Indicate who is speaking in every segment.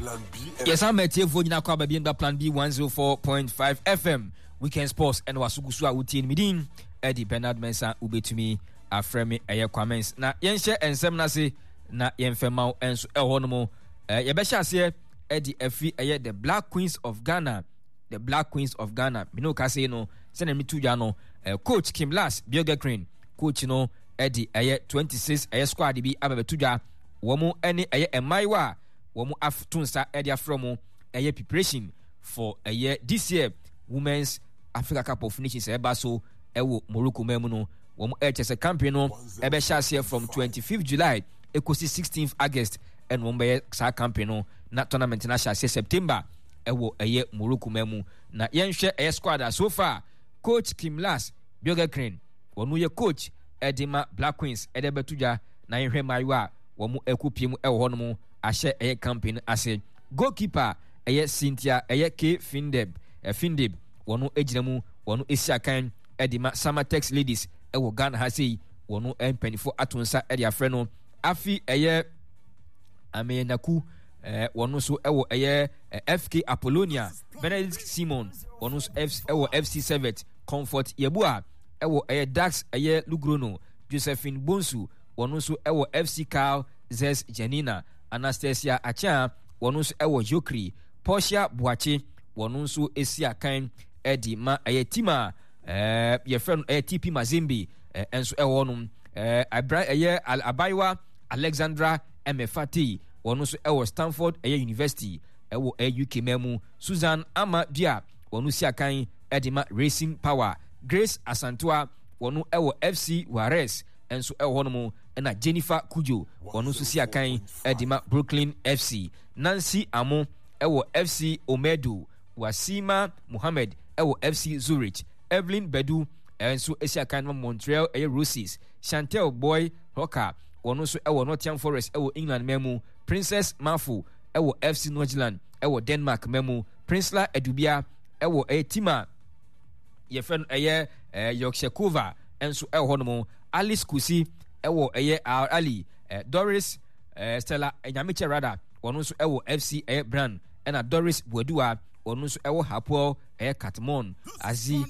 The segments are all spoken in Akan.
Speaker 1: Yɛsan ma atiefoɔ nyinaa kɔ aba bio ba Plan B 104.5 FM Weekend Sports ɛna waso gu so a wotie no. Me din ɛde Bernard Mensah, wobɛtumi afrɛ me ɛyɛ Kwamens. Na yɛnhyɛ nsɛm no ase na yɛmfɛ ma wo nso ɛwɔ hɔ nom. Yɛbɛhyɛ aseɛ ɛde afiri ɛyɛ The Black Queens of Ghana. The Black Queens of Ghana. Me ne wo kasa yi no, sɛnea metu dwa no, coach Kim Lars Björgekren, coach no ɛde ɛyɛ 26 ɛyɛ squad bi aba bɛto dwa. Wɔn ɛne ɛyɛ mmaayewa a wɔn ato nsa ɛde afrɛ wɔn ɛyɛ preparation for ɛyɛ this year Women's Africa Cup of Nations ɛba so ɛwɔ Morocco man mu no. Wɔn ɛkyɛ sɛ campaign no ɛbɛhyɛ aseɛ from 25th July ɛkɔsi 16th August ɛna wɔn bɛyɛ saa campaign no, na tournament no ahyɛ aseɛ September ɛwɔ ɛyɛ Morocco man mu. Na yɛnhwɛ ɛyɛ squad a so far coach Kim Lars Björgekren wɔn yɛ coach ɛde ma Black Queens ɛde bɛto dwa, na yɛnhwɛ mmaayewa a wɔn ɛkɔ pie mu ɛwɔ hɔ nom ahyɛ ɛyɛ campaign no ase. Goalkeeper ɛyɛ Cynthia ɛyɛ K Findeb Findeb wɔn gyina mu, wɔn esi akan ɛde ma Samatex Ladies ɛwɔ Ghana ha sei, wɔn mpanyinfoɔ ato nsa ɛde afrɛ no. Afi ɛyɛ Ameyaw wɔn nso ɛwɔ ɛyɛ FK Apollonia. Benedict Simon wɔn nso ɛwɔ FC Servette. Comfort Yeboah ɛwɔ ɛyɛ Dax ɛyɛ Logroño. Josephine Bonsu wɔn nso ɛwɔ FC Carl Zes Janina. Anastasia Achia wɔn nso ɛwɔ Jokri. Portia Boakye wɔn nso esi akan ɛde ma ɛyɛ team a yɛfrɛ no ɛyɛ TP Mazembe nso ɛwɔ hɔnom. Abra ɛyɛ abayewa Alexandra Emefatei wɔn nso ɛwɔ Stanford ɛyɛ University ɛwɔ ɛyɛ UK man mu. Susan Ama Dua wɔn si akan ɛde ma Racing Power. Grace Asantewa wɔn ɛwɔ FC Juarez nso ɛwɔ hɔnom, ɛna Jennifer Kujo wɔn nso si akan ɛde ma Brooklyn FC. Nancy Amo ɛwɔ FC Omedo. Wasima Mohammed ɛwɔ FC Zurich. Evelyn Badu nso si akan ma Montreal ɛyɛ Roses. Chantel Boy Hawker wɔn nso ɛwɔ Nottingham Forest ɛwɔ England man mu. Princess Mafo ɛwɔ FC Nordsjælland ɛwɔ Denmark man mu. Princela Adubia ɛwɔ ɛyɛ team a yɛfrɛ no ɛyɛ Yorkshire nso ɛwɔ hɔnom. Alice Kusi ɛwɔ ɛyɛ Al Ali. Doris Stella Nyamekyɛ Rada wɔn nso ɛwɔ FC ɛyɛ Brand, ɛna Doris Buadua wɔn nso ɛwɔ Hapoel ɛyɛ Katmon. Azi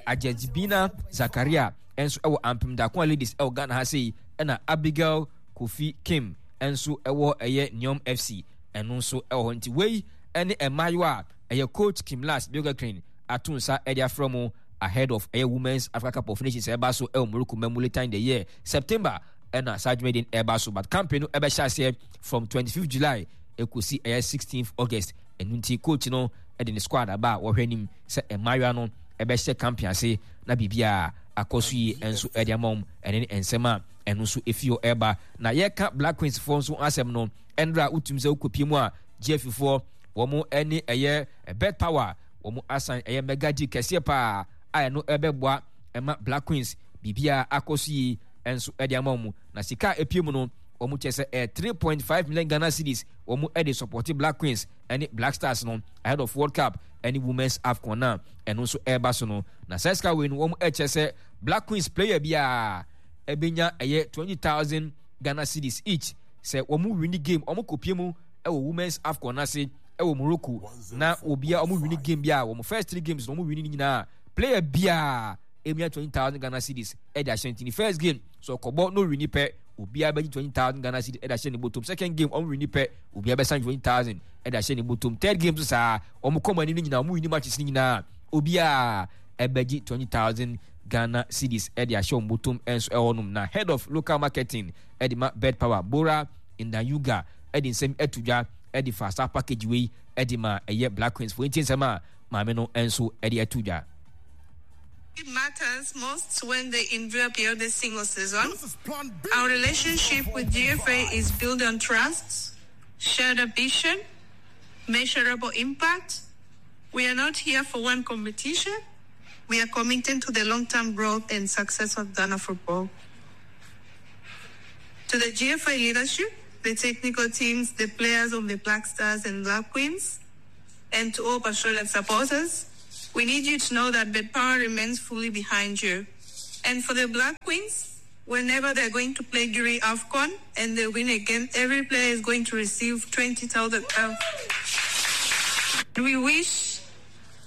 Speaker 1: Ajajibina Zakaria nso ɛwɔ Ampem Dakoa Ladies ɛwɔ Ghana ha sei, ɛna Abigail Kofi Kim nso ɛwɔ ɛyɛ Neom FC ɛno nso ɛwɔ hɔ. Nti wei ɛne mmaayewa a ɛyɛ coach Kim Lars Björgekren ato nsa ɛde afrɛ mo ahead of ɛyɛ Women's Africa Cup of Nations ɛba so ɛwɔ Morocco mamu later in the year September ɛna saa dwumadie no ɛba so, but campaign no ɛbɛhyɛ aseɛ from 25th July ɛkɔsi ɛyɛ 16th August. Ɛno nti coach no ɛde ne squad aba a wɔhwɛ anim sɛ mmaayewa no ɛbɛhyɛ campaign ase na biribiara akɔ so yie nso ɛde ama wɔn. Ɛne ne nsɛm a ɛno nso ɛfi hɔ ɛba. Na yɛka Black Queens foɔ nso asɛm no, ɛnra wotumi sɛ wokɔpie mu a GFA foɔ wɔn ɛne ɛyɛ Bet Power wɔn asan ɛyɛ mega deal kɛseɛ paa a ɛno ɛbɛboa ɛma Black Queens biribiara akɔ so yie nso ɛde ama wɔn. Na sika a ɛpie mu no wɔn kyɛ sɛ ɛyɛ 3.5 million Ghana cedis wɔn ɛde support Black Queens ɛne Black Stars no ahead of World Cup ɛne Women's AFCON na ɛno nso ɛreba so no. Na saa sika wei no wɔn ɛkyɛ sɛ Black Queens player biara ɛbɛnya ɛyɛ 20,000 Ghana cedis each sɛ wɔn win game wɔn kɔpie mu ɛwɔ Women's AFCON n'ase ɛwɔ Morocco na obia wɔn win game biara wɔn first 3 games na wɔn win ne nyinaa player biara emia 20,000 Ghana cedis ɛde ahyɛ. Nti ne first game so ɔkɔbɔ no win pɛ, obiara bɛgye 20,000 Ghana cedis ɛde ahyɛ ne bɔtɔm. Second game wɔn win pɛ, obiara bɛsan 20,000 ɛde ahyɛ ne bɔtɔm. Third game so saa wɔn kɔn mu anim no nyinaa wɔn win matches no nyinaa obiara ɛbɛgye 20,000 Ghana cedis ɛde ahyɛ wɔn bɔtɔm ɛnso ɛwɔ nom. Na head of local marketing ɛde ma Bet Power Bora Ndayuga ɛde nsɛm ɛto dwa ɛde fa saa package wei ɛde ma ɛyɛ Black Queens fo. Nti nsɛm a maame no nso ɛde ɛto dwa.
Speaker 2: It matters most when they injury beyond a single season. Our relationship with GFA is built on trust, shared ambition, measurable impact. We are not here for one competition. We are committed to the long-term growth and success of Ghana football. To the GFA leadership, the technical teams, the players of the Black Stars and Black Queens, and to all Patriotic supporters, we need you to know that betPawa remains fully behind you. And for the Black Queens, whenever they're going to play during AFCON and they win again, every player is going to receive 20,000. We wish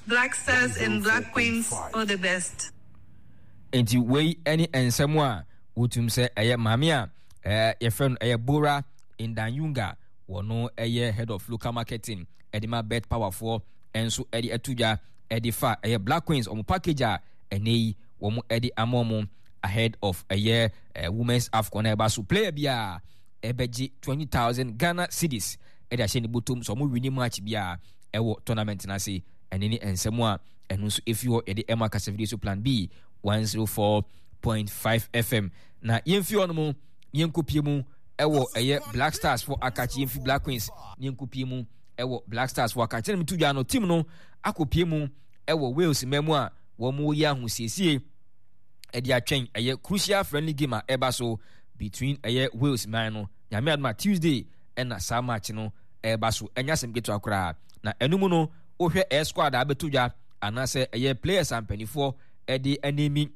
Speaker 2: Black Stars and Black Queens all the best.
Speaker 1: Nti wei ne nsɛm a wotum sɛ ɛyɛ maame a yɛfrɛ no ɛyɛ Bora Ndanyunga, wɔno ɛyɛ head of local marketing ɛde ma Bet Powerfoɔ nso ɛde ato dwa ɛde fa ɛyɛ Black Queens wɔn package a ɛnɛ yi wɔn ɛde ama wɔn ahead of ɛyɛ Women's AFCON na ɛba so. Player bi a ɛbɛgye 20,000 Ghana cedis ɛde ahyɛ ne bɔtɔm sɛ wɔn winning match bi a ɛwɔ tournament no ase. Ɛne ne nsɛm a ɛno nso ɛfi hɔ yɛde ɛma kasafidie so Plan B 104.5 FM. Na yɛmfi hɔ nom yɛnkɔpie mu ɛwɔ ɛyɛ Black Stars fo akakye. Yɛmfi Black Queens ne yɛnkɔpie mu ɛwɔ Black Stars fo akakye. Na meto dwa no, team no akɔpie mu ɛwɔ Wales mma mu a wɔn yɛ ahosiesie ɛde atwɛn ɛyɛ crucial friendly game a ɛba so between ɛyɛ Wales man no. Nyame adoma, Tuesday ɛna saa match no ɛba so. Ɛnyɛ asɛm ketewa koraa. Na ɛno mu no, wohwɛ ɛyɛ squad a abɛto dwa anaasɛ ɛyɛ players a mpanimfoɔ ɛde animi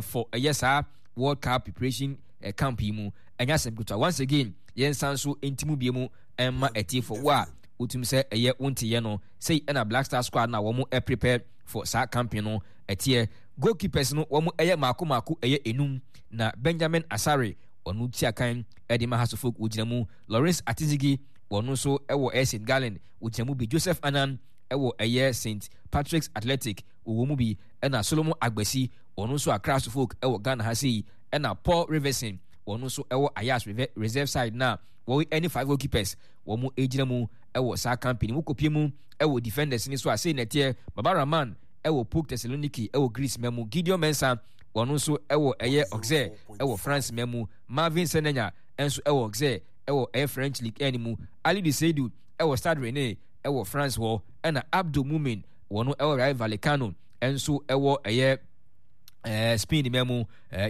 Speaker 1: for ɛyɛ saa World Cup preparation camp yi mu, ɛnyɛ asɛm ketewa. Once again, yɛn nsa nso ntimu bie mu ɛmma ɛtiefo wo a wotum sɛ ɛyɛ wo nteyɛ no sei ɛna Black Star squad na wɔn prepare for saa camping no ɛteɛ. Goalkeepers no, wɔn ɛyɛ maako maako ɛyɛ enum, na Benjamin Asare, ɔno tia kan ɛde ma Hasofok, wɔgyina mu. Lawrence Atizigi, wɔn nso ɛwɔ ɛyɛ St Gallen, wɔgyina mu bi. Joseph Anan ɛwɔ ɛyɛ St Patrick's Athletic, wɔwɔ mu bi. Ɛna Solomon Agbasi, wɔn nso Accra Hasofok ɛwɔ Ghana ha sei. Ɛna Paul Riverson, wɔn nso ɛwɔ Ayas reserve side. Na wɔn ɛne five goalkeepers wɔn gyina mu ɛwɔ saa campaign mu. Kɔpie mu ɛwɔ defenders ni so a, sei na ɛteɛ: Baba Rahman ɛwɔ PAOK Thessaloniki ɛwɔ Greece ma mu, Gideon Mensah, wɔn nso ɛwɔ ɛyɛ Auxerre ɛwɔ France ma mu, Marvin Senenya nso ɛwɔ Auxerre ɛwɔ ɛyɛ French League ɛne mu, Alidu Seidu ɛwɔ Stade Rennais ɛwɔ France hɔ, ɛna Abdul Mumin, wɔn ɛwɔ Rayo Vallecano nso ɛwɔ ɛyɛ Spain ma mu,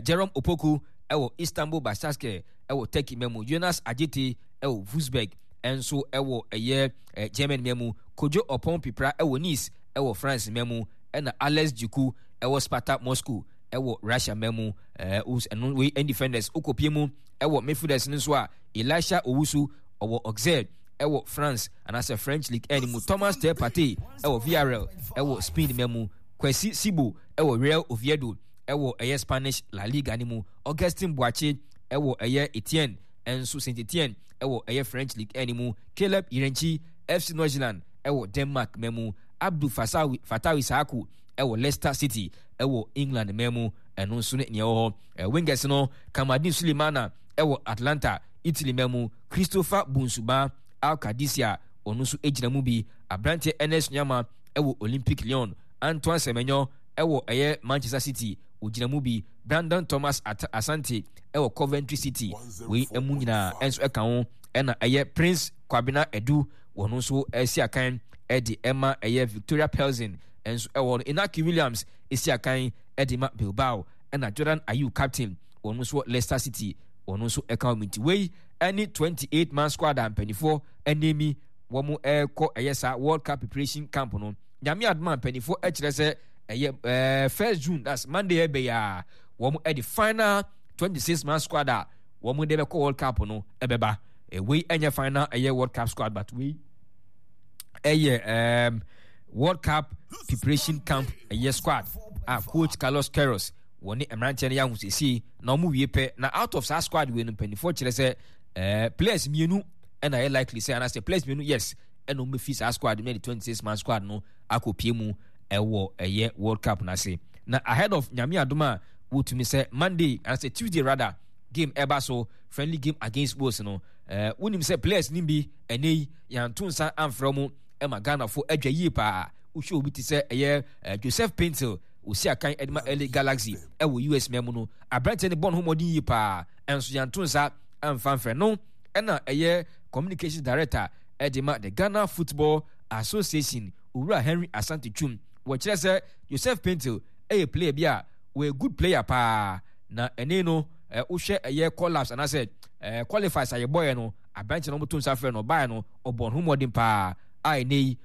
Speaker 1: Jerome Opoku ɛwɔ Istanbul Basaksehir ɛwɔ Turkey ma mu, Jonas Adjetey ɛwɔ Wolfsburg nso ɛwɔ ɛyɛ German ma mu, Kojo Opon Pipra ɛwɔ Nice ɛwɔ France ma mu, ɛna Alex Djiku ɛwɔ Spartak Moscow ɛwɔ Russia ma mu. Ɛno wei ɛn defenders. Okopie mu ɛwɔ midfielders no nso a, Elisha Owusu ɔwɔ Auxerre ɛwɔ France anaasɛ French League ɛne mu, Thomas Teh Partey ɛwɔ Villarreal ɛwɔ Spain ma mu, Kwesi Sibo ɛwɔ Real Oviedo ɛwɔ ɛyɛ Spanish La Liga ne mu, Augustin Boakye ɛwɔ ɛyɛ Etienne ɛnso Saint Etienne ɛwɔ ɛyɛ French League ɛne mu, Caleb Yirenkyi, FC Nordsjælland ɛwɔ Denmark ma mu, Abdul Fasawi Fatawi Saaku ɛwɔ Leicester City ɛwɔ England ma mu. Ɛno nso ne nea ɛwɔ hɔ. Wingers no, Kamaldeen Sulemana ɛwɔ Atlanta, Italy ma mu, Christopher Bonsuba, Al Qadisiyah, ɔno nso gyina mu bi, aberanteɛ Ernest Nuamah ɛwɔ Olympic Lyon, Antoine Semenyo ɛwɔ ɛyɛ Manchester City, ɔgyina mu bi, Brandon Thomas Asante ɛwɔ Coventry City. Wei mu nyinaa ɛnso ɛka ho. Ɛna ɛyɛ Prince Kwabena Edu, wɔn nso ɛsi akan ɛde ɛma ɛyɛ Victoria Pelzen ɛnso ɛwɔ no, Inaki Williams ɛsi akan ɛde ma Bilbao, ɛna Jordan Ayew captain, wɔn nso Leicester City, wɔn nso ɛka wɔn. Nti wei ɛne 28 man squad a mpanimfoɔ ɛnemi wɔn ɛrekɔ ɛyɛ saa World Cup preparation camp no. Nyame adoma, mpanimfoɔ ɛkyerɛ sɛ ɛyɛ 1st June, that's Monday ɛbɛyɛ a, wɔn ɛde final 26 man squad a wɔn de bɛkɔ World Cup no ɛbɛba. Wei ɛnyɛ final ɛyɛ World Cup squad, but wei ɛyɛ World Cup preparation camp ɛyɛ squad a coach Carlos Queiroz wɔne mmeranteɛ no yɛ ahosiesie na wɔn wie pɛ. Na out of saa squad wei no, mpanimfoɔ kyerɛ sɛ players mmienu ɛna ɛyɛ likely sɛ, anaasɛ players mmienu, yes, ɛna wɔn bɛfi saa squad no de 26 man squad no akɔpie mu ɛwɔ ɛyɛ World Cup n'ase. Na ahead of Nyame adom a wotumi sɛ Monday anaasɛ Tuesday rather game ɛba so, friendly game against Wales no, wonim sɛ players no bi ɛnɛ yi yɛanto nsa amfrɛ mu ɛma Ghanafoɔ adwa yie paa. Wohwɛ obi te sɛ ɛyɛ Joseph Paintsil, osi akan ɛde ma LA Galaxy ɛwɔ US man mu no, aberanteɛ no bɔ ne ho mmɔden yie paa, ɛnso yɛanto nsa amfa mfrɛ no. Ɛna ɛyɛ communications director ɛde ma the Ghana Football Association, Owura Henry Asante Twum, wɔkyerɛ sɛ Joseph Paintsil ɛyɛ player bi a wɔyɛ good player paa, na ɛne no wohwɛ ɛyɛ collapse anaasɛ qualifies a yɛbɔeɛ no, aberanteɛ no wɔto nsa frɛ no ɔbaeɛ no, ɔbɔ ne ho mmɔden paa a ɛnɛ yi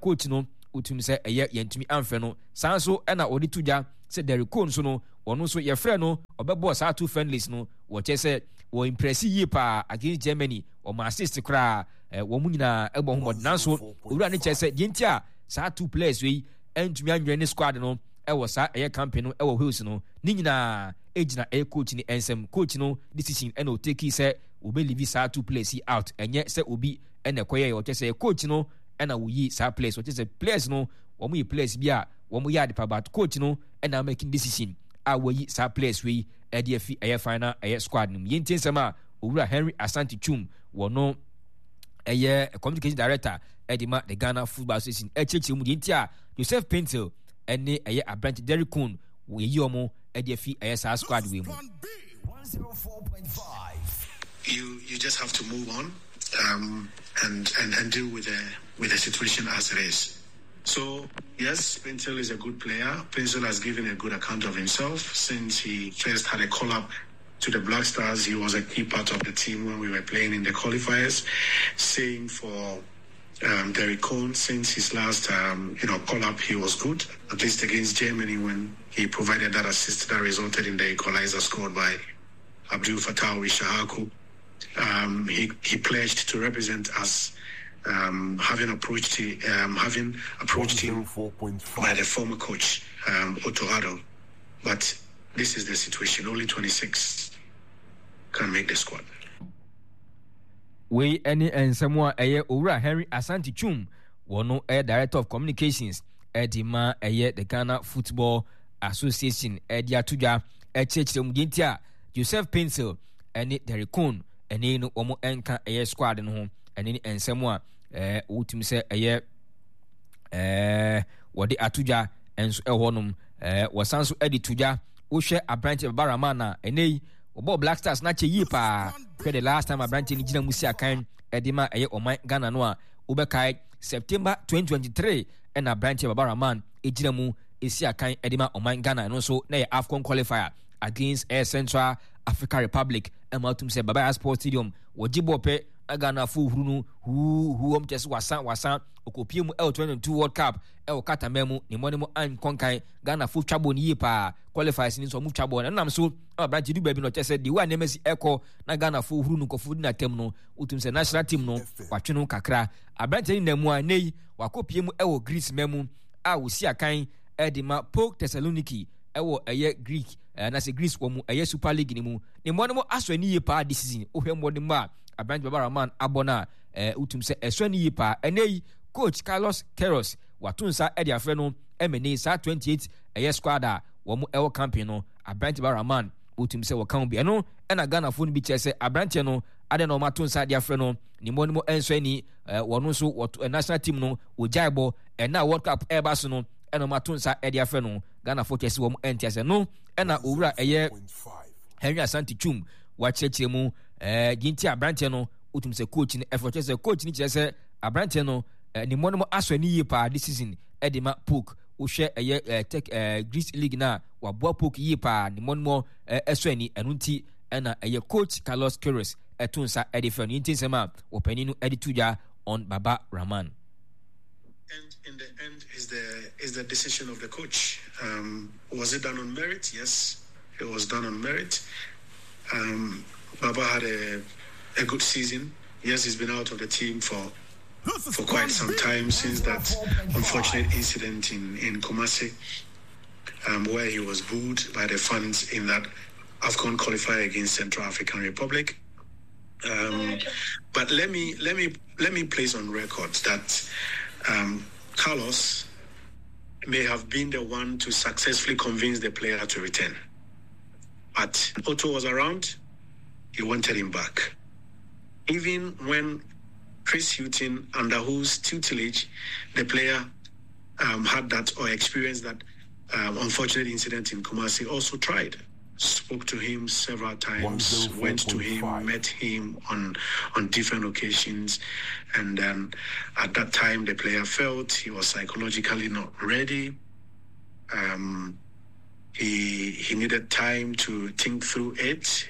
Speaker 1: coach no wotumi sɛ ɛyɛ yɛntumi amfrɛ no. Saa nso ɛna wɔde to dwa sɛ Derek Cole nso no, wɔn nso yɛfrɛ no, ɔbɛbɔɔ saa two friendlies no, wɔkyerɛ sɛ wɔ impress yie paa against Germany, wɔn assist koraa. Wɔn nyinaa ɛbɔ ho mmɔden nanso owura no kyerɛ sɛ deɛ nti a saa two players wei ɛntumi anwɛn ne squad no ɛwɔ saa ɛyɛ campaign no ɛwɔ Wales no ne nyinaa ɛgyina ɛyɛ coach no nsam. Coach no decision ɛna ɔteki sɛ wɔbɛ leave saa two players yi out, ɛnyɛ sɛ obi ɛna ɛkɔyɛ yɛ ɔkyɛ sɛ coach no ɛna wɔyi saa players. Ɔkyɛ sɛ players no wɔn yɛ players bi a wɔn yɛ adepa, but coach no ɛna making decision a wɔyi saa players wei ɛde afi ɛyɛ final ɛyɛ squad no mu. Yɛntie nsɛm a owura Henry Asante Twum wɔ no ɛyɛ communication director ɛde ma the Ghana Football Association ɛkyerɛkyerɛ mu deɛ nti a Joseph Paintsil ɛne ɛyɛ aberante Derrick Köhn wɔyi wɔn ɛde afi ɛyɛ saa squad wei mu.
Speaker 3: You you just have to move on and and deal with the with the situation as it is. So yes, Paintsil is a good player. Paintsil has given a good account of himself since he first had a call up to the Black Stars. He was a key part of the team when we were playing in the qualifiers. Same for Derrick Köhn. Since his last call up, he was good, at least against Germany when he provided that assist that resulted in the equalizer scored by Abdul Fatawu Issahaku. He pledged to represent us, having approached him by the former coach, Otto Addo. But this is the situation. Only 26 can make the squad.
Speaker 1: Wei ne nsɛm a ɛyɛ Owura Henry Asante Twum, wɔno ɛyɛ Director of Communications ɛde ma ɛyɛ the Ghana Football Association ɛde ato dwa ɛkyerɛkyerɛ mu deɛ nti a Joseph Paintsil ɛne Derrick Köhn ɛne no wɔn ɛnka ɛyɛ squad no ho. Ɛne ne nsɛm a wotumi sɛ ɛyɛ wɔde ato dwa nso ɛwɔ hɔnom. Wɔsan nso ɛde to dwa, wohwɛ aberante Baba Rahman a ɛnɛ yi wɔbɔɔ Black Stars no akyɛ yie paa. Hwɛ the last time aberante no gyina mu si akan ɛde ma ɛyɛ ɔman Ghana no a, wobɛkae September 2023 ɛna aberante Baba Rahman gyina mu esi akan ɛde ma ɔman Ghana. Ɛno nso na ɛyɛ AFCON qualifier against ɛyɛ Central Africa Republic. Ɛma atum sɛ Baba Yara Sports Stadium wɔgye bɔɔl pɛ na Ghanafoɔ huru no huu huu, wɔn kyɛ sɛ wasa wasa. Ɔkɔpie mu ɛwɔ 2022 World Cup ɛwɔ Qatar man mu, ne mmɔne mu ankɔ nkan. Ghanafoɔ twa bɔɔl no yie paa, qualifiers no nso wɔn twa bɔɔl no ɛnam so ɛma aberante du baabi na ɔkyɛ sɛ deɛ wɔ a nneɛma si ɛkɔ na Ghanafoɔ huru no nkɔfoɔ di n'atam no, wotum sɛ national team no watwe no kakra. Aberante no nam mu a nnɛ yi wakɔpie mu ɛwɔ Greece man mu a wɔsi akan ɛde ma PAOK Thessaloniki ɛwɔ ɛyɛ Greek anaasɛ Greece wɔ mu ɛyɛ Super League no mu. Ne mmɔne mu asɔ ani yie paa this season. Wohwɛ mmɔne mu a aberante Baba Rahman abɔ no a, wotum sɛ ɛsɔ ani yie paa. Ɛnɛ yi coach Carlos Queiroz wato nsa de afrɛ no ɛmɛ ne saa 28 ɛyɛ squad a wɔn ɛwɔ camping no, aberante Baba Rahman wotum sɛ wɔka ho bi. Ɛno ɛna Ghanafoɔ no bi kyerɛ sɛ aberanteɛ no adɛn na wɔn ato nsa de afrɛ no, ne mmɔne mu ɛnsɔ ani. Wɔn nso wɔto national team no wɔgyae bɔ ɛna World Cup ɛreba so no ɛna wɔn ato nsa de afrɛ no. Ghanafoɔ kyerɛ sɛ wɔn ɛnte asɛ no. Ɛna owura ɛyɛ Henry Asante Twum wakyerɛkyerɛ mu deɛ nti aberanteɛ no wotum sɛ coach no ɛfɔ kyerɛ sɛ coach no kyerɛ sɛ aberanteɛ no ne mmɔ no mu asɔ ani yie paa this season ɛde ma PAOK. Wohwɛ ɛyɛ tech Greece league no a, waboa PAOK yie paa, ne mmɔ no mu ɛsɔ ani. Ɛno nti ɛna ɛyɛ coach Carlos Queiroz ɛto nsa ɛde frɛ no. Yɛntie nsɛm a wɔpanin no ɛde to dwa on Baba Rahman.
Speaker 3: And in the end is the is the decision of the coach. Was it done on merit? Yes, it was done on merit. Baba had a good season. Yes, he's been out of the team for quite some time since that unfortunate incident in Kumasi, where he was booed by the fans in that AFCON qualifier against Central African Republic. But let me place on record that Carlos may have been the one to successfully convince the player to return. But Otto was around, he wanted him back. Even when Chris Hughton, under whose tutelage the player had that or experienced that unfortunate incident in Kumasi, also tried. Spoke to him several times, went to him, met him on different occasions, and then at that time the player felt he was psychologically not ready. He needed time to think through it.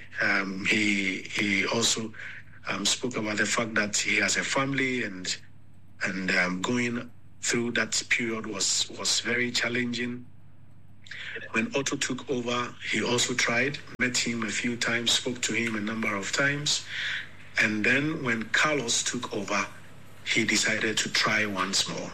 Speaker 3: He also spoke about the fact that he has a family, and going through that period was very challenging. When Otto took over, he also tried, met him a few times, spoke to him a number of times. And then when Carlos took over, he decided to try once more.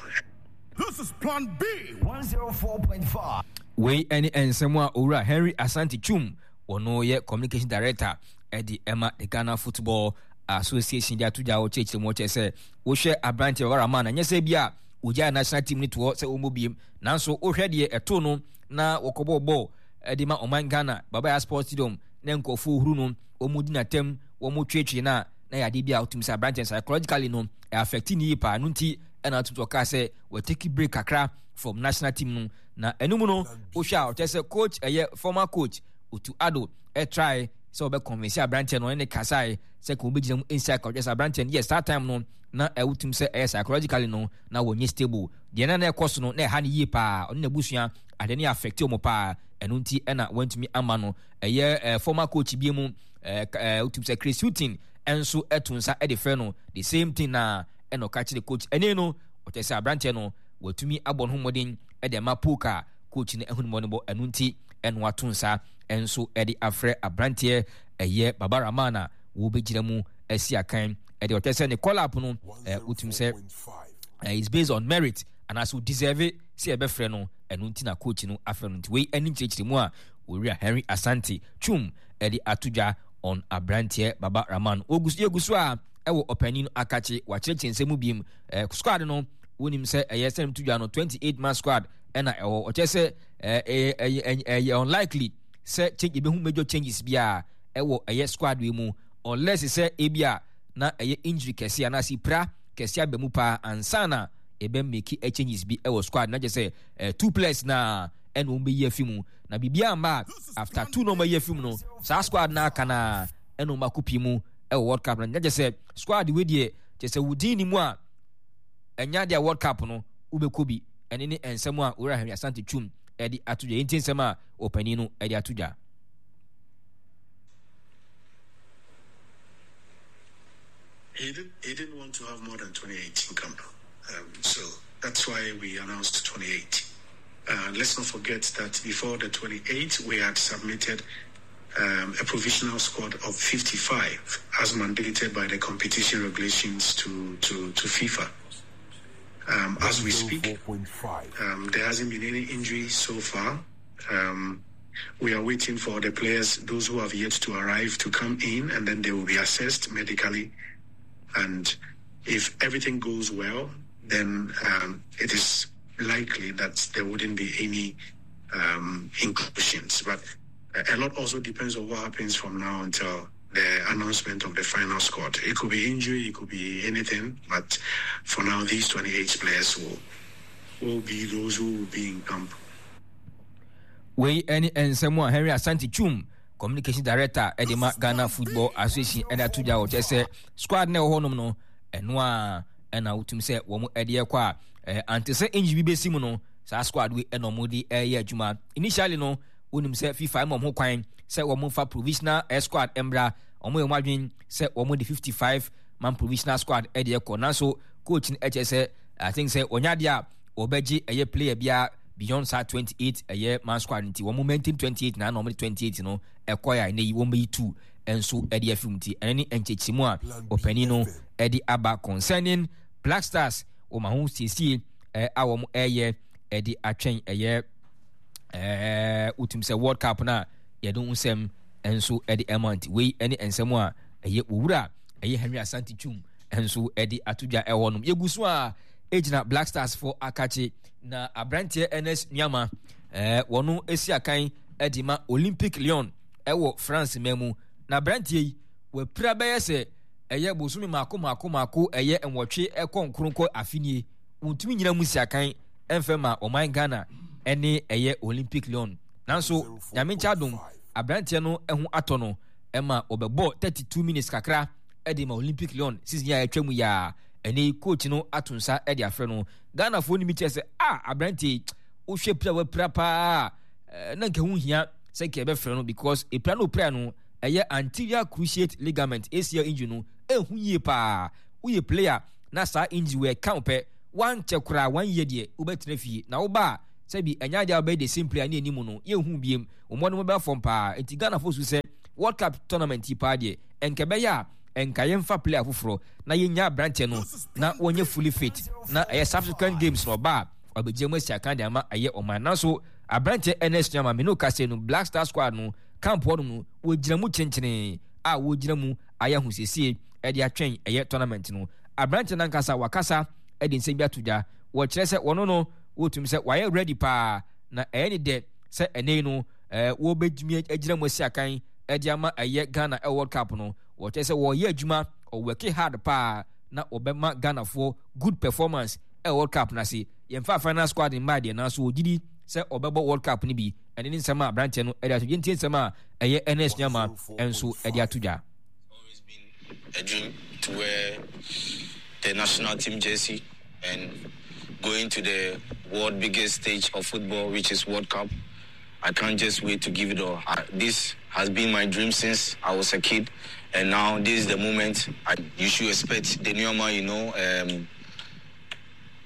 Speaker 4: This is Plan B 104.5.
Speaker 1: Wei ne nsɛm a Owura Henry Asante Twum, wɔno yɛ Communication Director de ma the Ghana Football Association de ato dwa a ɔkyerɛkyerɛ mu ɔkyerɛ sɛ wohwɛ aberanteɛ Baba Rahman a nyɛ sɛ bi a wɔgyae national team no toɔ sɛ wɔmmɔ biem nanso wohwɛ deɛ ɛtoo no na wɔkɔbɔɔ bɔɔl de ma ɔman Ghana Baba Yara Sports Stadium na nkurɔfoɔ huru no wɔn di n'atam wɔn tweetwee no a na yɛ adeɛ bi a wotumi sɛ aberanteɛ psychologically no ɛ affect ne yie paa no nti ɛna wotumi sɛ ɔkaa sɛ wɔtake break kakra from national team no na ɛno mu no wohwɛ a ɔkyerɛ sɛ coach ɛyɛ former coach Otu Ado ɛtrae sɛ ɔbɛ convince aberanteɛ no ɔne ne kasae sɛ ka wɔbɛgyina mu nsi aka ɔkyerɛ sɛ aberanteɛ no yes that time no na ɛwotumi sɛ ɛyɛ psychologically no na wɔnyɛ stable deɛ na na ɛkɔ so no na ɛha no yie paa ɔne n'abusua adeɛ no yɛ affect wɔn paa ɛno nti ɛna wɔntumi ama no ɛyɛ eh, former coach bi mu eh, eh, wotumi sɛ Chris Hughton nso ɛto nsa ɛde frɛ no the same thing na ɛna ɔka kyerɛ coach ɛne no ɔkyerɛ sɛ aberanteɛ no watumi abɔ ne ho mmɔden ɛde ama poke a coach no ɛho ne bɔ ɛno nti ɛno ato nsa nso ɛde afrɛ aberanteɛ ɛyɛ Baba Rahman a wɔbɛgyina mu asi akan ɛde ɔkyerɛ sɛ ne call up no wotumi sɛ is based on merit anaasɛ deserve sɛ yɛbɛfrɛ no ɛno nti na coach no afrɛ no nti wei ɛne nkyerɛkyerɛmu a Owura Henry Asante Twum ɛde ato dwa on aberanteɛ Baba Rahman. Yɛgu so a ɛwɔ ɔpanin no akakye wakyerɛkyerɛ nsɛm mu biem. Squad no wonim sɛ ɛyɛ sɛnem to dwa no 28 man squad ɛna ɛwɔ ɔkyerɛ sɛ ɛyɛ ɛyɛ unlikely sɛ change ebehu major changes biara ɛwɔ ɛyɛ squad wei mu unless sɛ ebi a na ɛyɛ injury kɛse anaasɛ pira kɛse aba mu paa ansa na ebe make changes bi ɛwɔ squad na kyerɛ sɛ two players na ɛna wɔn bɛyi afi mu na biribiara mma a after two na wɔn ayi afi mu no saa squad na aka na ɛna wɔn akɔ pii mu ɛwɔ world cup no na kyerɛ sɛ squad wei deɛ kyerɛ sɛ wodin ne mu a ɛnya deɛ world cup no wobɛkɔ bi ɛne ne nsɛm a owura Henry Asante Twum ɛde ato dwa yɛnti nsɛm a ɔpanin no ɛde ato dwa.
Speaker 3: He didn't, he didn't want to have more than 28 in camp. So that's why we announced 28. Let's not forget that before the 28, we had submitted a provisional squad of 55 as mandated by the competition regulations to, to, to FIFA. As we speak, there hasn't been any injury so far. We are waiting for the players, those who have yet to arrive, to come in, and then they will be assessed medically. And if everything goes well, then it is likely that there wouldn't be any inclusions. But a lot also depends on what happens from now until the announcement of the final squad. It could be injury, it could be anything, but for now, these 28 players will, will be those who will be in camp.
Speaker 1: Wei ne nsɛm a Henry Asante Twum, communication director de ma Ghana Football Association de ato dwa wɔkyerɛ sɛ squad na ɛwɔ hɔnom no ɛno a ɛna wotum sɛ wɔn de ɛkɔ a ante sɛ injury bi bɛsi mu no saa squad wei ɛna wɔn de ɛyɛ adwuma initially no wonim sɛ FIFA ma wɔn ho kwan sɛ wɔn mfa provisional squad mmra wɔn yɛ wɔn adwene sɛ wɔn de 55 man provisional squad ɛde ɛkɔ nanso coach no ɛkyɛ sɛ I think sɛ wɔnya adeɛ a wɔbɛgye ɛyɛ player biara beyond saa 28 ɛyɛ man squad nti wɔn maintain 28 na na wɔn de 28 no ɛkɔ yɛ a ɛnɛ yi wɔn bɛyi two nso ɛde afi mu nti ɛno ne nkyɛkyerɛmu a ɔpanin no ɛde aba concerning Black Stars wɔn ahosiesie ɛ a wɔn ɛyɛ ɛde atwɛn ɛyɛ ɛɛ wotum sɛ World Cup no a yɛde ho nsɛm nso ɛde ɛma nti wei ɛne nsɛm a ɛyɛ owura ɛyɛ Henry Asante Twum nso ɛde ato dwa ɛwɔ nom yɛgu so a ɛgyina Black Stars fo akakye na aberanteɛ Ernest Nuamah ɛɛ wɔn esi akan ɛde ma Olympic Lyon ɛwɔ France man mu na aberanteɛ yi wapira bɛyɛ sɛ ɛyɛ bosome mako mako mako ɛyɛ nwɔtwe ɛkɔ nkronkɔ afinie wɔntumi nyina mu si akan ɛmfɛ ma ɔman Ghana ɛne ɛyɛ Olympic Lyon nanso nyame nkyɛ adom aberanteɛ no ɛho atɔ no ɛma wɔbɛbɔ 32 minutes kakra ɛde ma Olympic Lyon season yi a ɛtwa mu yaa ɛne coach no ato nsa ɛde afrɛ no Ghanafoɔ no bi kyerɛ sɛ ah aberanteɛ yi wohwɛ pira wapira paa na nka ho hia sɛ nka yɛbɛfrɛ no because epira no opira no ɛyɛ anterior cruciate ligament ACL injury no ɛho yie paa woyɛ player na saa injury wɔ ɛka wo pɛ wankyɛ koraa one year deɛ wobɛtena fie na woba a sɛbi ɛnyɛ adeɛ a wobɛyɛ the same player ne anim no yɛnhu biem wɔn no bɛba fam paa nti Ghanafoɔ su sɛ World Cup tournament yi paa deɛ ɛnka ɛbɛyɛ a Nka yɛmfa player foforɔ na yɛnya aberanteɛ no na wɔnyɛ fully fit na ɛyɛ subsequent games na ɔba a ɔbɛgyina mu asi akan de ama ɛyɛ ɔman. Nanso aberanteɛ Ernest Nuamah me ne wo kasa yi no Black Star squad no camp hɔnom no wɔgyina mu kyenkyenee a wɔgyina mu ayɛ ahosiesie de atwɛn ɛyɛ tournament no. Aberanteɛ no ankasa wakasa de nsɛm bi ato dwa. Wɔkyerɛ sɛ wɔno no wɔtumi sɛ wayɛ ready paa na ɛyɛ ne dɛ sɛ ɛnɛ yi no wɔbɛtumi agyina mu asi akan de ama ɛyɛ Ghana ɛwɔ World Cup no. Wɔkyerɛ sɛ wɔyɛ adwuma, wɔworke hard paa na wɔbɛma Ghanafoɔ good performance ɛwɔ World Cup no ase. Yɛmfa final squad mmaa deɛ nanso wɔgye di sɛ wɔbɛbɔ World Cup no bi. Ɛne ne nsɛm a aberanteɛ no de ato dwa. Yɛntie nsɛm a ɛyɛ Ernest Nuamah nso de ato dwa.
Speaker 5: Always been a dream to wear the national team jersey and going to the world biggest stage of football, which is World Cup. I can't just wait to give it all. I, this has been my dream since I was a kid, and now this is the moment. I, you should expect the Nuamah, you know.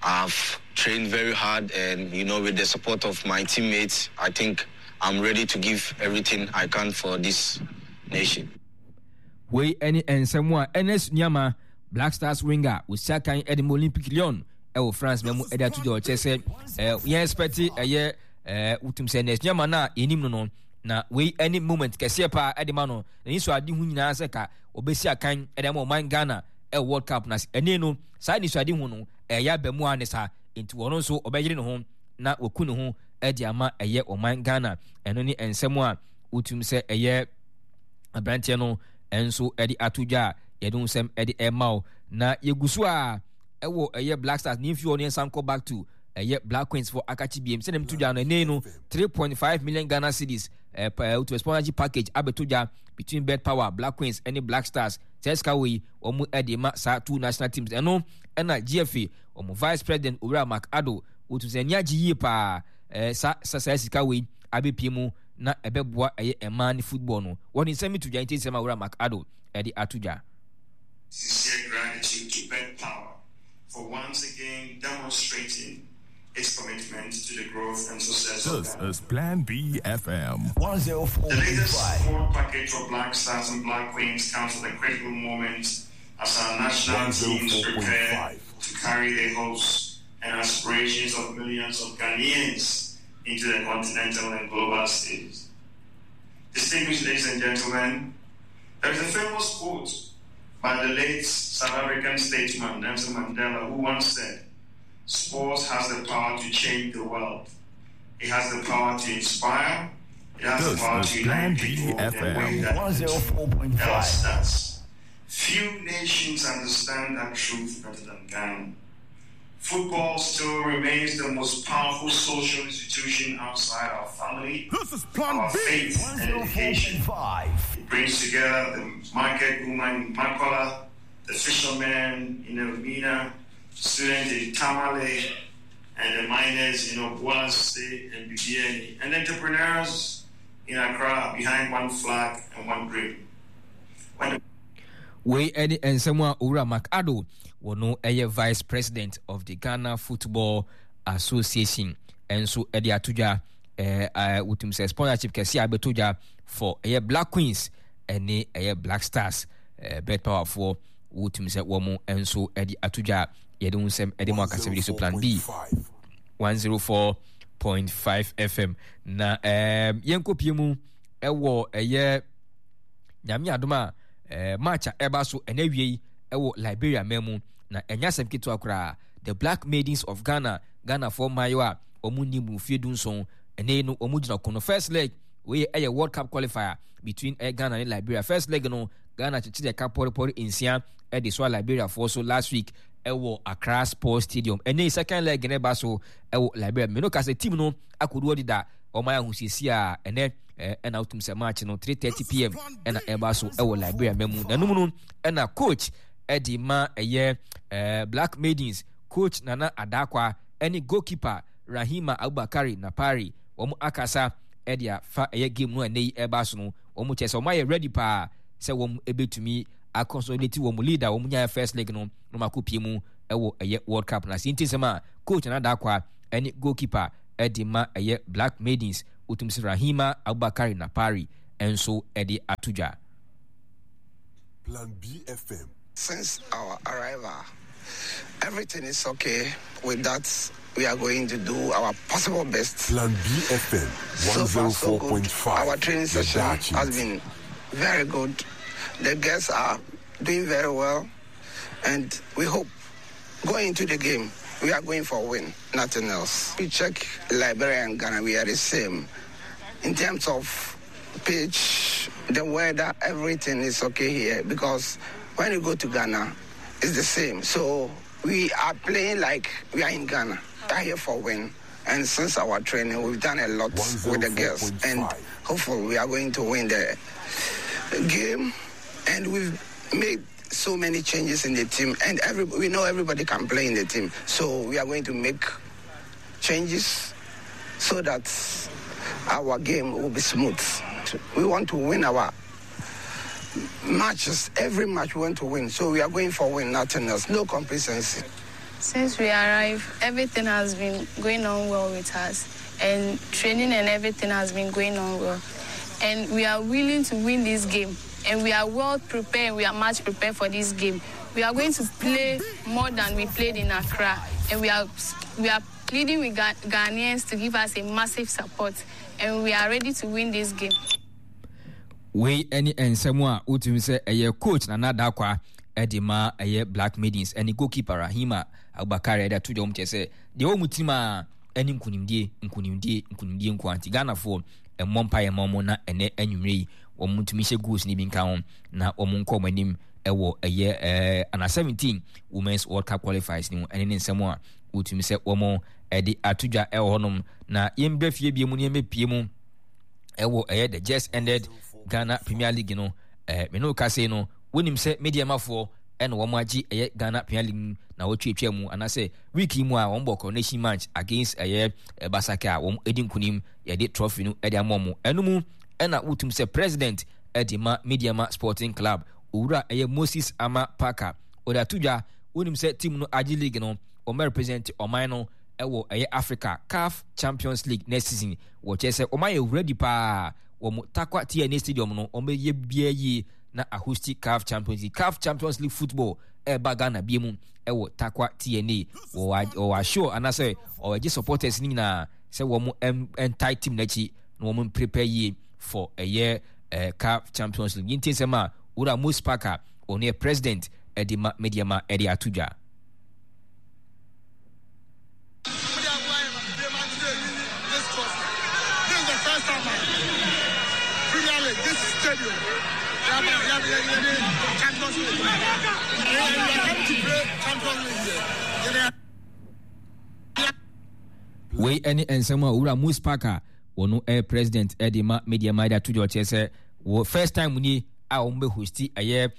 Speaker 5: I've trained very hard, and you know, with the support of my teammates, I think I'm ready to give everything I can for this nation.
Speaker 1: Wei ne nsɛm a Ernest Nuamah, Black Stars winger, osi akan de ma Olympique Lyon wɔ France ma mu de ato dwa. Ɔkyerɛ sɛ yɛn expect ɛyɛ wotum sɛ Ernest Nuamah no a yɛnim no no, na wei ne moment kɛseɛ paa de ma no. N'ani so ade ho nyinaa sɛ ka ɔbɛsi akan de ama ɔman Ghana ɛwɔ World Cup no ase. Ɛnne no, saa anisoadehu no ɛyɛ aba mu ara ne saa. Nti ɔno nso ɔbɛyere ne ho na waku ne ho de ama ɛyɛ ɔman Ghana. Ɛno ne nsɛm a wotum sɛ ɛyɛ aberanteɛ no nso de ato dwa a yɛde ho nsɛm de ɛma wo. Na yɛgu so a ɛwɔ ɛyɛ Black Stars ne mfie hɔ no yɛnsan kɔ back to ɛyɛ Black Queens for akakye biem sɛdeɛ meto dwa no ɛnɛ no 3.5 million Ghana cedis ɛɛ sponsorship package abɛto dwa between Bet Power, Black Queens ɛne Black Stars. Saa sika wɔ yi wɔn ɛde ma saa two national teams. Ɛno ɛna GFA wɔn vice president Owura Mark Addo wɔtu sɛ ani agye yie paa ɛɛ sa sa saa sika wɔ yi abɛpie mu na ɛbɛboa ɛyɛ mmaa ne football no. Wɔde nsɛm bi to dwa nti nsɛm a Owura Mark Addo ɛde ato dwa.
Speaker 6: Sincere gratitude to Bet Power for once again demonstrating its commitment to the growth and success of
Speaker 4: This
Speaker 6: Ghana.
Speaker 4: is Plan B FM.
Speaker 6: The latest support package for Black Stars and Black Queens comes at a critical moment as our national teams prepare to carry the hopes and aspirations of millions of Ghanaians into the continental and global stage. Distinguished ladies and gentlemen, there is a famous quote by the late South African statesman Nelson Mandela, who once said, Sports has the power to change the world. It has the power to inspire. It has
Speaker 4: This
Speaker 6: the power
Speaker 4: is
Speaker 6: to
Speaker 4: Plan
Speaker 6: unite
Speaker 4: B
Speaker 6: people in a
Speaker 4: FM.
Speaker 6: way that
Speaker 4: 104.5.
Speaker 6: else does. Few nations understand that truth better than Ghana. Football still remains the most powerful social institution outside our family,
Speaker 4: This is Plan
Speaker 6: our
Speaker 4: B.
Speaker 6: faith, and education. It brings together the market woman in Makola, the fisherman in Elmina, student in Tamale, and the miners in Obuasi and Bibiani, and entrepreneurs in Accra behind one flag and one dream. When the
Speaker 1: Wei ne nsɛm a Owura Mark Addo, wɔno yɛ Vice President of the Ghana Football Association nso de ato dwa. Wotum sɛ sponsorship kɛse a abɛto dwa for ɛyɛ Black Queens ne ɛyɛ Black Stars Bet Powerfoɔ wotum sɛ wɔn nso de ato dwa. Yɛde ho nsɛm de mu akasɛm de so Plan B 104.5 FM na yɛnkɔpie mu ɛwɔ ɛyɛ Nyame adom a match a ɛba so ɛnɛ awie yi ɛwɔ Liberia man mu na ɛnyɛ asɛm ketewa koraa. The Black Maidens of Ghana, Ghanafoɔ mmaayewa a wɔn nni mu mfeɛ 17 ɛnɛ yi no wɔn gyina ko no first leg wei ɛyɛ World Cup qualifier between Ghana ne Liberia. First leg no Ghana kyekyere ɛka pɔrepɔre 6 ɛde soa Liberiafoɔ so last week ɛwɔ Accra Sports Stadium. Ɛnɛ yi second leg no ɛba so ɛwɔ Liberia. Mene ka sɛ team no akodoɔ deda wɔn ayɛ ahosiesie a ɛnɛ ɛna wotum sɛ match no 3:30 pm ɛna ɛba so ɛwɔ Liberia ma mu. Nanum no ɛna coach ɛde ma ɛyɛ Black Maidens coach Nana Adakwa ɛne goalkeeper Rahima Abubakari Napari wɔn akasa ɛde afa ɛyɛ game no a ɛnɛ yi ɛba so no. Wɔn kyɛ sɛ wɔn ayɛ ready paa sɛ wɔn ɛbɛtumi aconsolidate wɔn lead a wɔn nyaeɛ first leg no na wɔn akɔpie mu ɛwɔ ɛyɛ World Cup no ase. Nti nsɛm a coach Nana Adakwa ɛne goalkeeper ɛde ma ɛyɛ Black Maidens wotum sɛ Rahima Abubakari Napari nso ɛde ato dwa.
Speaker 4: Plan B FM.
Speaker 7: Since our arrival, everything is okay. With that, we are going to do our possible best.
Speaker 4: Plan B FM
Speaker 7: So far, so good.
Speaker 4: 104.5.
Speaker 7: Our training
Speaker 4: The
Speaker 7: session
Speaker 4: Dutchies.
Speaker 7: has been very good. The girls are doing very well, and we hope going into the game, we are going for a win, nothing else. We check Liberia and Ghana, we are the same. In terms of pitch, the weather, everything is okay here because when you go to Ghana, it's the same. So we are playing like we are in Ghana. We are here for win. And since our training, we've done a lot with the girls. And
Speaker 4: 104.5.
Speaker 7: hopefully we are going to win the game. And we've made so many changes in the team. And we know everybody can play in the team. So we are going to make changes so that our game will be smooth. We want to win our matches. Every match we want to win. So we are going for win, nothing else. No complacency.
Speaker 2: Since we arrived, everything has been going on well with us, and training and everything has been going on well. And we are willing to win this game, and we are well prepared, we are much prepared for this game. We are going to play more than we played in Accra, and we are pleading with Ghanaians to give us a massive support, and we are ready to win this game.
Speaker 1: Wei any nsɛm a wotumi sɛ ɛyɛ coach Nana Dakwa ɛde ma ɛyɛ Black Maidens ɛne goalkeeper Rahima Abubakar ɛde ato dwom kyerɛ sɛ deɛ wɔn mu tirim a ɛne nkunimdie nkunimdie nkunimdie nko anti Ghanafoɔ ɛmmɔ mpa yɛ ma wɔn na ɛnɛ anwummerɛ yi wɔn ntumi hyɛ goals ne bi nka ho na wɔn nkɔ wɔn anim ɛwɔ ɛyɛ ana 17 Women's World Cup qualifiers ne mu ɛne ne nsɛm a wotumi sɛ wɔn ɛde ato dwa ɛwɔ hɔnom na yɛn bɛ fie bie mu ne yɛn bɛ pie mu ɛwɔ ɛyɛ the just ended Ghana Premier League no me no kase no wonim sɛ mediamafoɔ ɛna wɔn agye ɛyɛ Ghana Premier League mu na wɔtwetwa mu anaasɛ week yi mu a wɔn bɔ coronation match against ɛyɛ Basake a wɔn edi nkunim yɛde trophy no ɛde ama wɔn ɛno mu ɛna wotum sɛ president ɛde ma Mediama Sporting Club owura ɛyɛ Moses Ama Parker ɔde ato dwa wonim sɛ team no agye league no wɔn represent ɔman no ɛwɔ ɛyɛ Africa CAF Champions League next season wɔkyerɛ sɛ wɔn ayɛ ready paa wɔn Tarkwa TNA Stadium no wɔn bɛyɛ biara yie na ahosti CAF Champions League. CAF Champions League football ɛreba Ghana bie mu ɛwɔ Tarkwa TNA. Wɔwɔ assure anaasɛ wɔgye supporters no nyinaa sɛ wɔn ɛntae team n'akyi na wɔn prepare yie for ɛyɛ CAF Champions League. Yɛntie nsɛm a Owura Mose Parker ɔno yɛ president ɛde ma Medeama ɛde ato dwa. Wei ne nsɛm a owura Moose Parker wɔn ɛyɛ president ɛde ma media ma ɛde ato dwa ɔkyerɛ sɛ wɔ first time nie a wɔn bɛ hosti ɛyɛ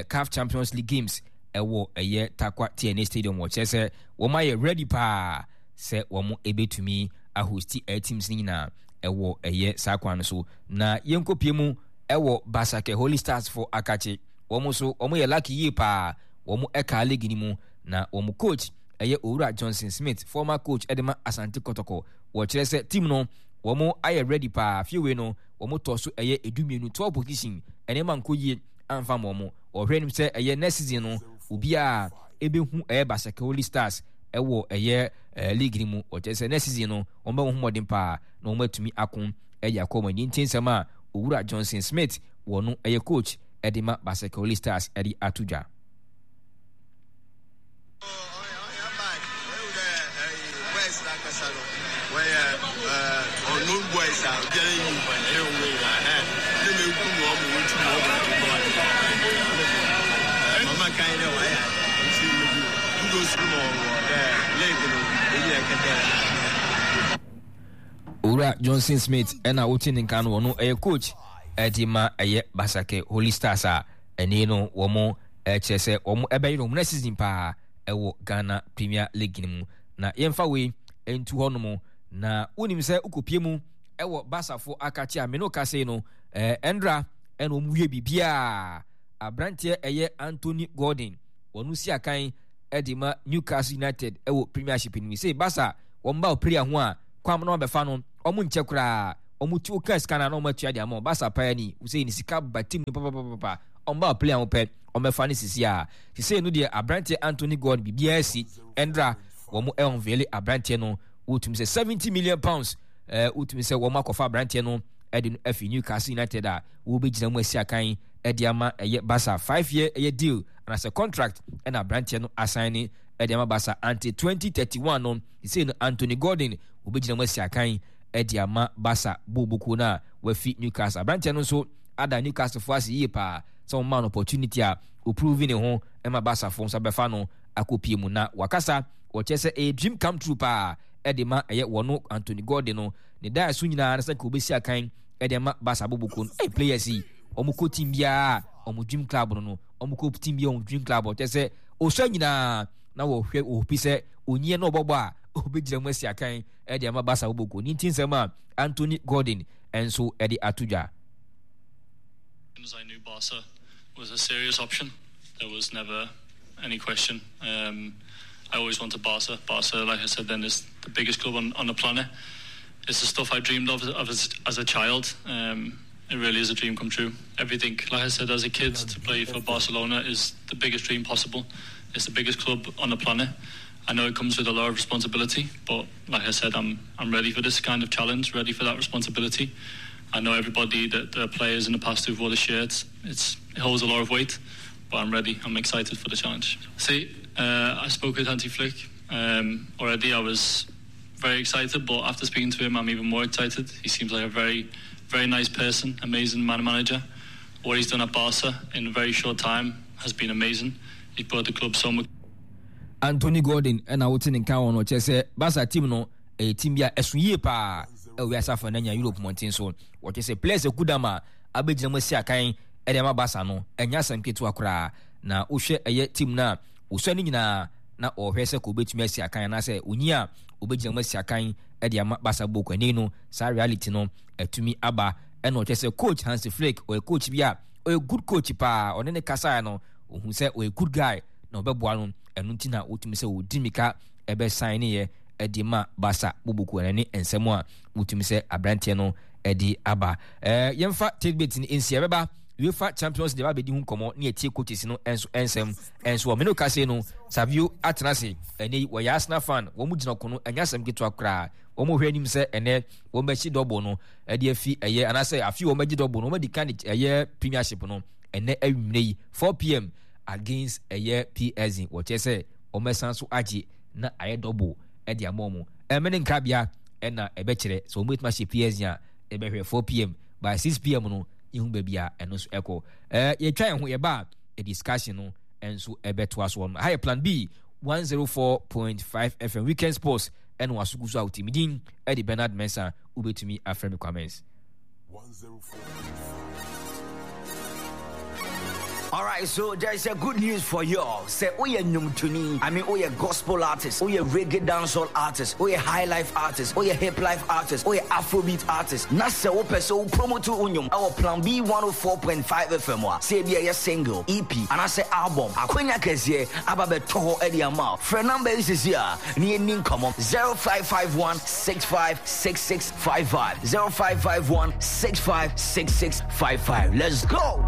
Speaker 1: CAF Champions League games ɛwɔ ɛyɛ Tarkwa TNA Stadium wɔkyerɛ sɛ wɔn ayɛ ready paa sɛ wɔn ɛbɛtumi ahosti ɛyɛ teams no nyinaa ɛwɔ ɛyɛ saa kwan no so na yɛnkɔpie mu ɛwɔ Basake Holy Stars fo akakye wɔn nso wɔn yɛ lucky yie paa wɔn ɛka league no mu na wɔn coach ɛyɛ Owura Johnson Smith former coach ɛde ma Asante Kɔtɔkɔ wɔkyerɛ sɛ team no wɔn ayɛ ready paa fiewei no wɔn tɔ so ɛyɛ 12 12 position ɛnneɛma nkɔ yie amfa ma wɔn wɔhwɛ anim sɛ ɛyɛ next season no obiara ɛbɛhu ɛyɛ Basake Holy Stars ɛwɔ ɛyɛ league no mu wɔkyerɛ sɛ next season no wɔn bɛwɔ ho mmɔden paa na wɔn atumi ako ɛde akɔ wɔn ani nti nsɛm a Owura Johnson Smith wɔ no ɛyɛ coach ɛde ma Basake Holy Stars ɛde ato dwa. Owura Johnson Smith ɛna wote ne nka no wɔn ɛyɛ coach ɛde ma ɛyɛ Basake Holy Stars a ɛne no wɔn ɛkyerɛ sɛ wɔn ɛbɛyɛ wɔn next season paa ɛwɔ Ghana Premier League no mu na yɛmfa wei ntu hɔ nom na wonim sɛ wokɔpie mu ɛwɔ Basafo akakye a mene kase no ɛndra ɛna wɔn wie biribiara aberanteɛ ɛyɛ Anthony Gordon wɔn si akan ɛde ma Newcastle United ɛwɔ Premiership no mu sɛ Basa wɔn ba ɔpere ho a kwam na wɔbɛfa no wɔn nkyɛ koraa wɔn ti woka sika na wɔn atua de ama wɔn Basa paa ni wosɛ ne sika ba team no papapapa. Ɔmba player a wɔpɛ ɔmmɛfa no sisi a. Sisei no deɛ aberanteɛ Anthony Gordon biribiara asi. Ɛndra wɔn unveil aberanteɛ no, wotumi sɛ 70 million pounds ɛɛ wotumi sɛ wɔn akɔfa aberanteɛ no ɛde no afi Newcastle United a wɔbɛgyina mu asi akan ɛde ama ɛyɛ Barca 5 year ɛyɛ deal anaasɛ contract ɛna aberanteɛ no asan ne ɛde ama Barca until 2031 no. Sisei no Anthony Gordon wɔbɛgyina mu asi akan ɛde ama Barca bɔɔlbɔkuo no a wafi Newcastle. Aberanteɛ no nso ada Newcastle fo ase yie paa sɛ wɔn maa no opportunity a oprove ne ho ɛma Barca fo nso abɛfa no akɔpie mu, na wakasa wɔkyerɛ sɛ ɛyɛ dream come true paa ɛde ma ɛyɛ wɔn Anthony Gordon no. Ne daa so nyinaa no sɛ nka obɛsi akan ɛde ama Barca bɔɔlbɔkuo no. Ɛyɛ players yi wɔn kɔ team biara wɔn dream club no, wɔn kɔ team biara wɔn dream club. Ɔkyerɛ sɛ osua nyinaa na wɔhwɛ wɔpi sɛ onyie na ɔbɔbɔ a obɛgyina mu asi akan ɛde ama Barca bɔɔlbɔkuo ne. Nti nsɛm a Anthony Gordon nso ɛde ato dwa.
Speaker 6: As I knew Barca was a serious option, there was never any question. I always wanted Barca. Barca, like I said then, is the biggest club on the planet. It's the stuff I dreamed of as a child. It really is a dream come true. Everything, like I said, as a kid, to play for Barcelona is the biggest dream possible. It's the biggest club on the planet. I know it comes with a lot of responsibility, but like I said, I'm ready for this kind of challenge, ready for that responsibility. I know everybody that the players in the past who've wore the shirts, it holds a lot of weight, but I'm ready. I'm excited for the challenge. See, I spoke with Hansi Flick already. I was very excited, but after speaking to him, I'm even more excited. He seems like a very, very nice person, amazing man manager. What he's done at Barca in a very short time has been amazing. He's brought the club so much.
Speaker 1: Anthony Gordon ɛna wote ne nka wɔ no, kyerɛ sɛ Barca team no ɛyɛ team bi a ɛso yie paa ɛwɔ wiase afa no anya Europe mmɔnten so. Wɔkyerɛ sɛ players akudam a abɛgyina mu asi akan ɛde ama Barca no ɛnyɛ asɛm ketewa koraa, na wohwɛ ɛyɛ team no a wɔsua no nyinaa na ɔhwɛ sɛ kò obɛtumi asi akan anaasɛ onyi a obɛgyina mu asi akan ɛde ama Barca bɔɔl ani no, saa reality no atumi aba. Ɛna ɔkyerɛ sɛ coach Hansi Flick ɔyɛ coach bi a ɔyɛ good coach paa. Ɔne ne kasaeɛ no, ohun sɛ ɔyɛ good guy na ɔbɛboa no. Ɛno nti na wotumi sɛ wɔdi mika ɛbɛsan ne yɛ ɛde ma Barca bubuku. Ɛno ne nsɛm a wotumi sɛ aberanteɛ no ɛde aba. Yɛmfa tidbit no nsi ɛbɛba UEFA Champions League abɛdi ho nkɔmmɔ ne yɛtie coaches no nso nsɛm nso wɔ mene kase no. Savio atena ase ɛnɛ yi, wɔyɛ Arsenal fan, wɔn mu gyina ko no, ɛnyɛ asɛm ketewa koraa. Wɔn hwɛ anim sɛ ɛnɛ wɔn bɛkyi double no ɛde afi ɛyɛ anaasɛ afi wɔn bɛgye double no, wɔn adi kan ɛyɛ Premiership no ɛnɛ awimmerɛ yi 4 p.m. against ɛyɛ PSG. Wɔkyerɛ sɛ wɔn bɛsan so agye na ayɛ double ɛde ama wɔn. Ɛmɛ ne nkrabea ɛna ɛbɛkyerɛ sɛ wɔn bɛtumi ahyɛ PSG a ɛbɛhwɛ 4 p.m. by 6 p.m. no ihu baabi a ɛno nso ɛkɔ. Yɛtwa yɛn ho yɛba a discussion no nso ɛbɛtoa so. Wɔn ha yɛ Plan B 104.5 FM, Weekend Sports ɛna wasogu so a wotumi din ɛde Bernard Mensah, wobɛtumi afrɛ me Kwamens.
Speaker 4: 104.5.
Speaker 8: Alright, so there is a good news for you. Say, oh yeah, nnwomtoni. I mean, oh yeah, gospel artist, oh yeah, reggae dancehall artist, oh yeah, high life artist, oh yeah, hip life artist, oh yeah, Afrobeat artist. Na sɛ wopɛ sɛ wo promote wo nnwom ɛwɔ Plan B 104.5 FM a, sɛ ebi ɛyɛ single, EP, anaasɛ album, akwanya kɛseɛ aba bɛtɔ hɔ ɛde ama wo. Frɛ number yi sisi a ne yɛnni nkɔmmɔ: 0551 656655, 0551 656655. Let's go!